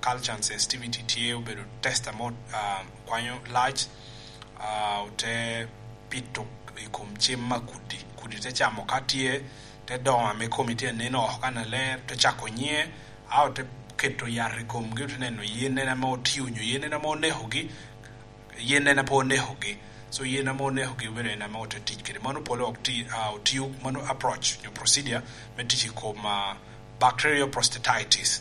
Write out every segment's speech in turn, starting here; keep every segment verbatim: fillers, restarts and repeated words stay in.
culture and sensitivity tye obedo test amo, ah, kwanyo lac, ah, ote pito i kom cem a kudi. Kudi te camo ka tye, te dongo ame komi tye anen oko kannaler, te cako nyiŋe, a ote keto yat i komgi, ote neno yen en ame otio nyo yen en ame onekogi, yen en ame onekogi. So yen ame onekogi obedo en ame ote tic kede. Mano pole ok ti, ah, otio, mano approach nyo procedure me tic i kom, ah, bacterial prostatitis.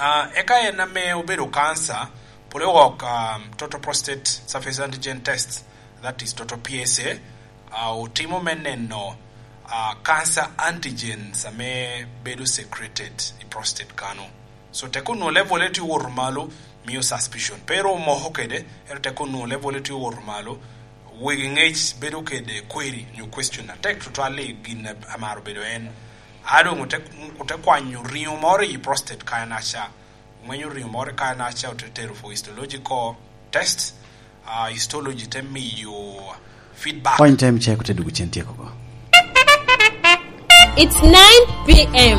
Ah, eka en ame obedo kansa, pole wok, um, total prostate surface antigen test, that is total P S A, ah, otimo me neno, ah, cancer antigens ame bedo secreted i prostate kano. So tek onwoŋo level tye owoto malo, mio suspicion. Pe ru omoko kede, ento tek onwoŋo level tye owoto malo, wegi ŋec bedo kede query nyo question atek tutwal i gin a-, amaro bedo en. A doŋ ote, ote kwanyo riŋo moro i prostate kanaca. Ŋwenyo riŋo moro kanaca ote tero for histological test. Ah, histology te miyo feedback. Point time check ote dugo cen tyeko oko. It's nine p m.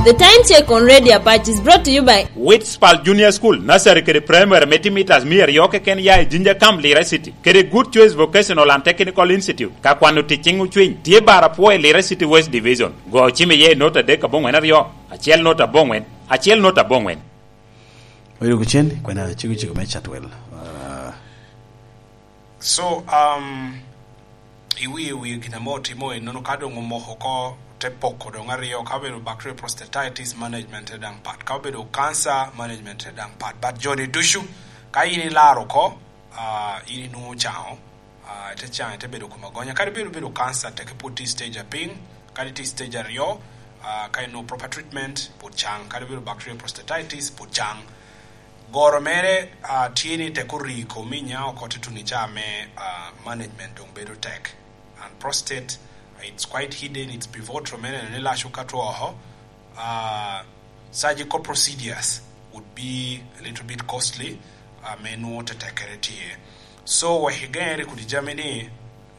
The time check on Radio Apache is brought to you by Witspal Junior School, nursery kede primary me timitas mia aryo keken ya i Jinja Camp, Lira City, kede Good Choice Vocational and Technical Institute. Ka kwano tic ciŋ ocwiny, tye bar apwo i Lira City West Division. Go cim iye i not adek aboŋwen aryo, acel not aboŋwen, acel not aboŋwen. Oyo kucen, kwena ciko ciko me Chatwel. Ah. So, um, i wie, i wie gin ame otimo ennono, ka doŋ omoko oko, te poko doŋ aryo, ka obedo bacterial prostatitis, management te daŋ pat, ka obedo cancer, management te daŋ pat. But joni ducu, ka in ilaro oko, ah, in inwoŋo caŋo, ah, ite caŋo, ite bedo kom agonya. Kadi bed obedo cancer, teke pwod tye i stage apiny, kadi tye i stage aryo, ah, ka inwoŋo proper treatment, pwod caŋ. Kadi obedo bacterial prostatitis, pwod caŋ. Goro mere, ah, tye ni tek ori i komi, inya oko tutuno i caa me, ah, management doŋ bedo tek. And prostate, it's quite hidden, it's pivotal, me neno ni lac okato oko. Ah, surgical procedures would be a little bit costly, ah, me nwoŋo tetekkere tye. So, wek igeŋere kodi jami ni,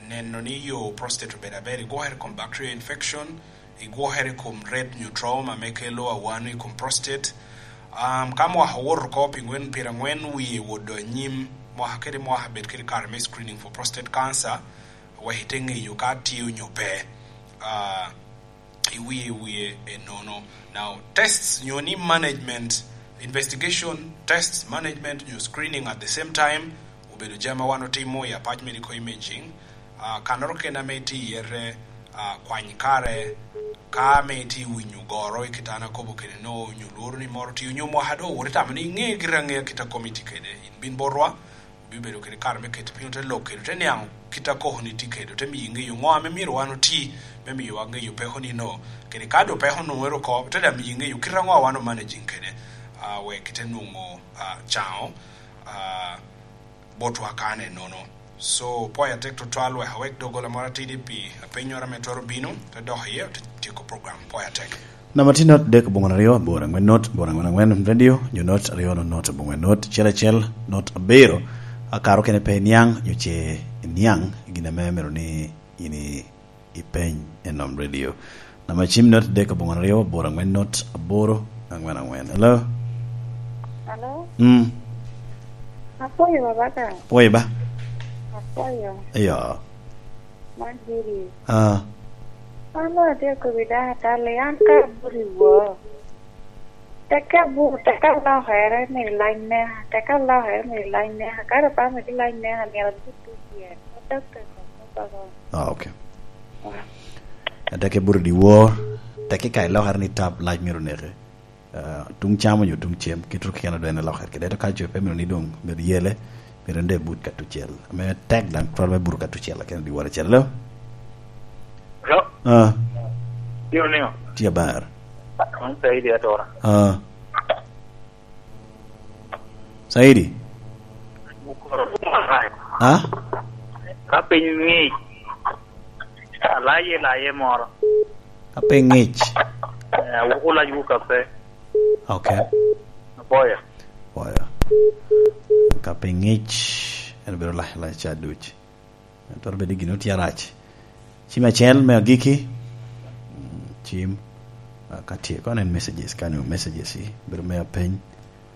neno ni yo prostate obedo aber, igwokere i kom bacterial infection, igwokere i kom red nyo trauma ame kelo awano i kom prostate. Um, ka mwaka owoto oko pi ŋwen, pyerangwen wie wodo anyim, mwaka kede mwaka bed kede kare me screening for prostate cancer, wek ite ŋeyo ka tye onyo pe. Ah, i wie, i wie ennono. Now, tests nyo ni management, investigation, tests, management nyo screening at the same time, obedo jami a wan otimo i Apac Medical Imaging. Ah, kannoro kene ame itye iye, ah, kwany kare, ka ame itye winyo goro i kitana kobo kede no, nyo lworo ni moro tye, nyo mwaka doŋ owoto itamo ni iŋe gira aŋea kit a komi tye kede. In bin botwa, bibedo kede kare me keto piny, ote lok kede, ote niaŋ kit a koko ni tye kede, ote miyo iŋeyo ŋo ame myero wan oti, me miyo wan ŋeyo peko ni no. Kede ka doŋ peko onwoŋere oko, ote daŋ miyo iŋeyo kit aŋo a wan omanaging kede, ah, wek ite nwoŋo, ah, caŋo, ah, botwa kane nono. So, pwoyo atek tutwal, wek awek doggola moro atidi pi apennyoro ame twero bino, te dok iye, te tyeko program. Pwoyo atek. Namba tye not dek aboŋo aryo aboro aŋwen not aboro aŋwen aŋwen radio, nyo not aryo not not aboŋo aŋwen not acel acel not abiro. Akaro kene pe iniaŋ, nyo ce iniaŋ gin ame myero ni in i-, ipeny enom radio. Namba cim not dek aboŋo aryo aboro aŋwen not aboro aŋwen aŋwen. Hello? Hello? Mm. Apwoyo baba ka. Pwoyo ba? Apwoyo. Iyo. Man diri. Ah. An atye akobi dano atali, an ka abut i wor. Teke abut, teke alokere me lac neka, teke alokere me lac neka. Ka dong pe amito lac neka, myero abut i dyere. Adok teko kop ago. Ah, okay. Ah. Teke abut i wor, teke ka ilokere ni tap lac myero oneke. Ah, tuŋ cam onyo tuŋ cem, kit ruk keken adwene lokere kede. Ento ka jo pe mito ni doŋ myero yele, myero en doŋ ebut ka tucel. Ame tek daŋ twero me buto ka tucel, lakin i dyewor acel. Hello? Hello? Ah. Tye niŋo? Tye aber. An Saidi atora. Ah. Saidi? Ah? Ka piny ng'ic, alaye laye moro. Ka piny ng'ic? Eh, awuko lacwu kape. Ok. Apoyo. Apoyo. Ka piny ng'ic, en bedo lac, lac ca duc. Twero bedo gin otye arac. Cim acel me agikki. Mm, cim. Ah, ka tye, kono en messages, kanyo messages i, bedo me apeny.